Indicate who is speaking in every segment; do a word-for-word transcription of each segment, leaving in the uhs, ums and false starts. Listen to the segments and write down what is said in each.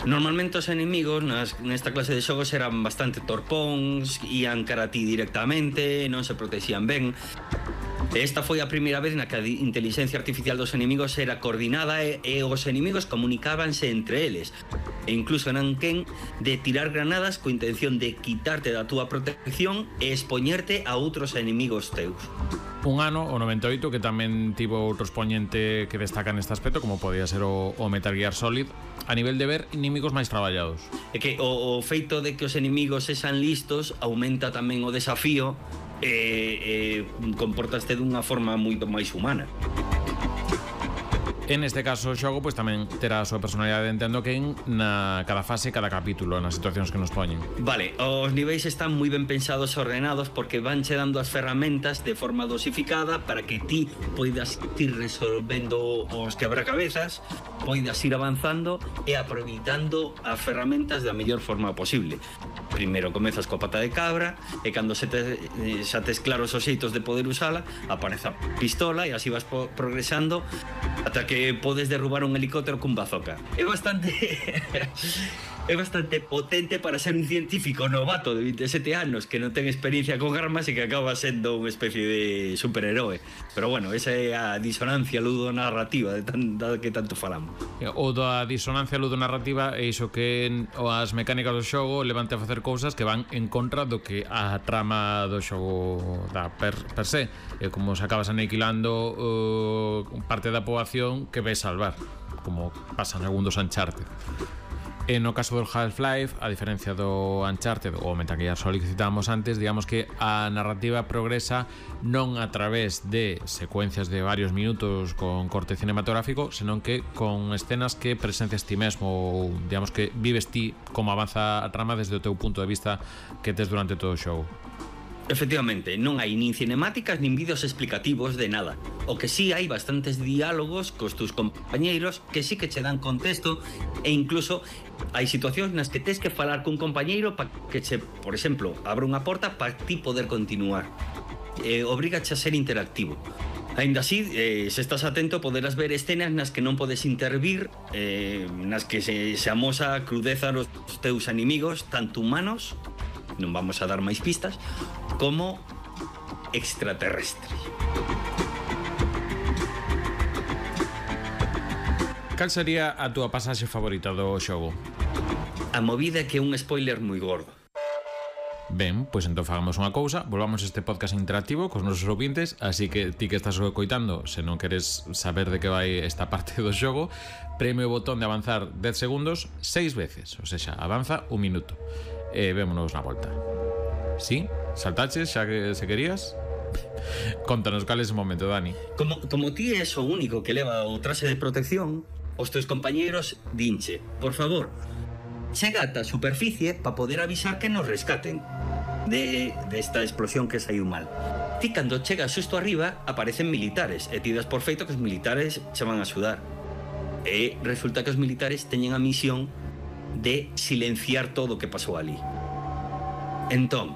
Speaker 1: Normalmente os enemigos nas, nesta clase de xogos eran bastante torpóns, ían cara a ti directamente, non se protexían ben. Esta foi a primeira vez na que a inteligencia artificial dos enemigos era coordinada e, e os enemigos comunicábanse entre eles. E incluso eran quen de tirar granadas co intención de quitarte da túa protección e expoñerte a outros enemigos teus.
Speaker 2: Un ano, o noventa e oito, que tamén tivo outro expoñente que destaca neste aspecto, como podía ser o, o Metal Gear Solid, a nivel de ver inimigos máis traballados.
Speaker 1: É que o, o feito de que os enemigos sexan listos aumenta tamén o desafío e, e comportaste dunha forma moito máis humana.
Speaker 2: En este caso o xogo pois tamén terá a súa personalidade, entendo que en na cada fase, cada capítulo, nas situacións que nos poñen.
Speaker 1: Vale, os niveis están moi ben pensados e ordenados porque vanche dando as ferramentas de forma dosificada para que ti poidas ir resolvendo os quebracabezas, poidas ir avanzando e aproveitando as ferramentas da mellor forma posible. Primeiro comezas coa pata de cabra e cando se te, xa tes claros os xeitos de poder usala, aparece a pistola e así vas progresando ata que podes derrubar un helicóptero cun bazooka. É bastante é bastante potente para ser un científico novato de vinte e sete anos que non ten experiencia con armas e que acaba sendo unha especie de superheroe. Pero bueno, esa é a disonancia ludonarrativa de tan, da que tanto falamos.
Speaker 2: O da disonancia ludonarrativa é iso que as mecánicas do xogo levante a facer cousas que van en contra do que a trama do xogo da per, per se. E como se acabas aniquilando uh, parte da poboación que ves salvar, como pasa en algún dos Uncharted. E no caso do Half-Life, a diferencia do Uncharted ou Metal Gear Solid que citábamos antes, digamos que a narrativa progresa non a través de secuencias de varios minutos con corte cinematográfico, senón que con escenas que presencias ti mesmo, ou digamos que vives ti como avanza a trama desde o teu punto de vista que tes durante todo o xogo.
Speaker 1: Efectivamente, non hai nin cinemáticas nin vídeos explicativos de nada. O que sí hai bastantes diálogos cos tus compañeiros que sí que che dan contexto e incluso hai situacións nas que tes que falar cun compañeiro para que che, por exemplo, abra unha porta para ti poder continuar. Eh, obrigache a ser interactivo. Ainda así, eh, se estás atento poderás ver escenas nas que non podes intervir, eh, nas que se, se amosa a crudeza dos teus inimigos, tanto humanos, non vamos a dar máis pistas, como extraterrestres.
Speaker 2: Cal sería a túa pasaxe favorita do xogo?
Speaker 1: A movida que é un spoiler moi gordo.
Speaker 2: Ben, pois entón fagamos unha cousa, volvamos este podcast interactivo cos nosos ouvintes, así que ti que estás coitando, se non queres saber de que vai esta parte do xogo, preme o botón de avanzar dez segundos seis veces, ou seja, avanza un minuto. E vémonos na volta. Sí? Saltaches xa que se querías? Contanos cal é ese momento, Dani.
Speaker 1: Como, como ti és o único que leva o traxe de protección, os teus compañeros dinche, por favor, chega ata a superficie para poder avisar que nos rescaten de, de esta explosión que saiu mal. Ti cando chegas xusto arriba aparecen militares e ti das por feito que os militares che van a axudar. E resulta que os militares teñen a misión de silenciar todo o que pasou ali. Entón,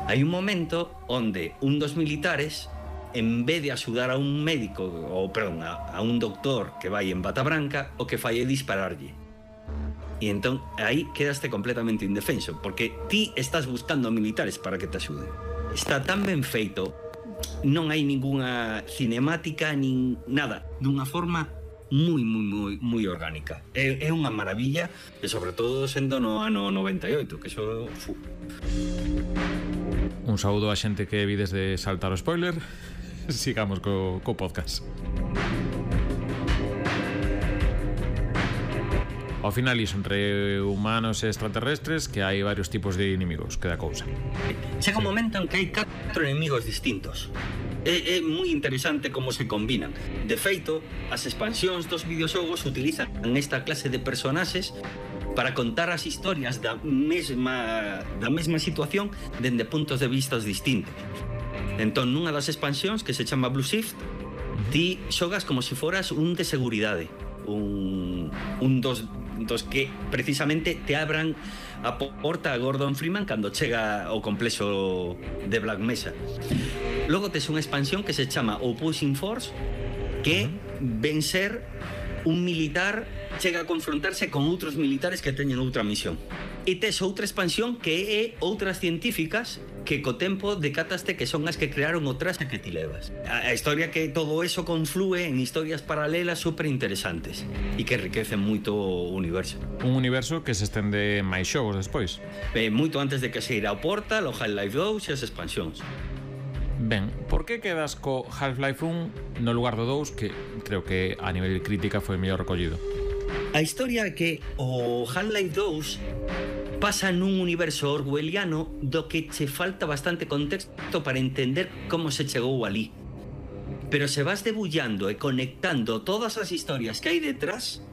Speaker 1: hai un momento onde un dos militares, en vez de axudar a un médico, ou perdón, a, a un doctor que vai en bata branca, o que fai é dispararlle. E entón, aí quedaste completamente indefenso, porque ti estás buscando militares para que te axuden. Está tan ben feito, non hai ningunha cinemática, nin nada, dunha forma moi, moi, moi, moi orgánica. É, é unha maravilla, e sobre todo sendo no ano noventa e oito, que xo... Fu.
Speaker 2: Un saúdo a xente que vides de saltar o spoiler. Sigamos co, co podcast. Ao final iso, entre humanos e extraterrestres, que hai varios tipos de inimigos, que da cousa.
Speaker 1: Chega un momento en que hai catro enemigos distintos. É, é moi interesante como se combinan. De feito, as expansións dos videoxogos utilizan esta clase de personaxes para contar as historias da mesma, da mesma situación dende puntos de vistas distintos. Entón, nunha das expansións, que se chama Blue Shift, ti xogas como se foras un de seguridade, un, un dos, dos que precisamente te abran a porta a Gordon Freeman cando chega ao complexo de Black Mesa. Logo tes unha expansión que se chama Opposing Force, que ven ser un militar chega a confrontarse con outros militares que teñen outra misión. E tes outra expansión que é outras científicas que co tempo decataste que son as que crearon o traxe que ti levas. A, a historia que todo eso conflúe en historias paralelas super interesantes e que enriquecen moito o universo.
Speaker 2: Un universo que se estende máis xogos despois.
Speaker 1: Eh, moito antes de que se irá ao Portal, o Half-Life dous e as expansións.
Speaker 2: Ben, por que quedas co Half-Life un no lugar do dous, que creo que a nivel de crítica foi mellor recollido?
Speaker 1: A historia é que o Half-Life dous pasa nun universo orwelliano do que che falta bastante contexto para entender como se chegou ali. Pero se vas debullando e conectando todas as historias que hai detrás,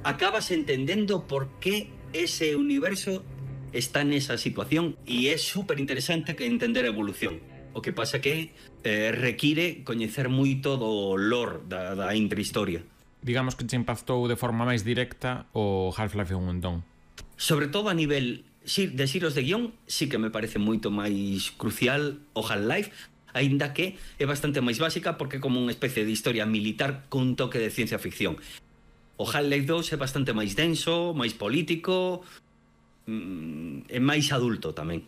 Speaker 1: acabas entendendo por que ese universo está nesa situación e é super interesante que entender a evolución. O que pasa que eh, require coñecer moito do lore da, da intrahistoria.
Speaker 2: Digamos que te impactou de forma máis directa o Half-Life un entón.
Speaker 1: Sobre todo a nivel de xiros de guión, sí que me parece moito máis crucial o Half-Life, aínda que é bastante máis básica porque é como unha especie de historia militar cun toque de ciencia ficción. O Half-Life dous é bastante máis denso, máis político, é máis adulto tamén.